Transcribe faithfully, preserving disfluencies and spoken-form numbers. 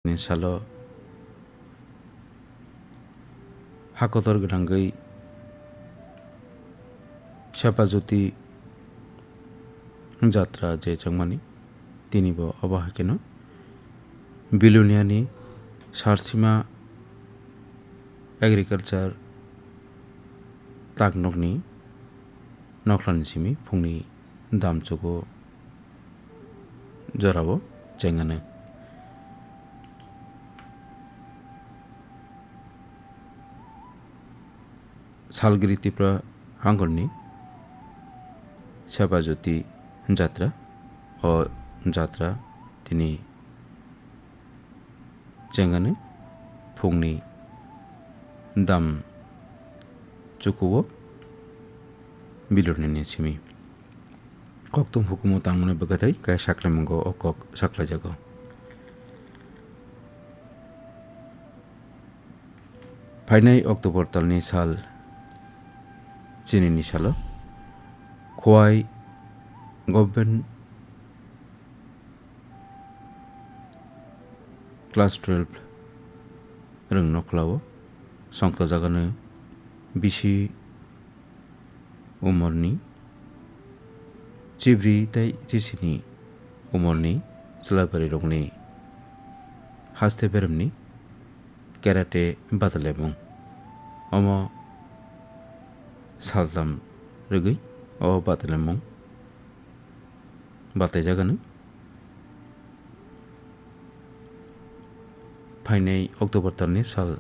ni salo hakotor gwnangwi Sepajyoti jatra je chwngmani, tini bo obo hai kheno Biloniani Sarsima Agriculture taknokni nokhlani simi phungni damchugo jorao chengano. Salgiri Tripura hangorni Sepajyoti jatra, o jatra tini chengano phungni dam chukuo Biloniani simi. Kokthum hukumu tangmani bwkhatai kaya saklaimungo o kok saklaijago. Phainai October talni sal chinini salo Khowai Government Class twelve rwng nokhlao songkha jagano bisi umorni chibri tei chisini umorni chwlaibarirokni haste beremni karate batalemung. Omo saltam rwgwi o batalemung bataijaganw. Phainai October talni sal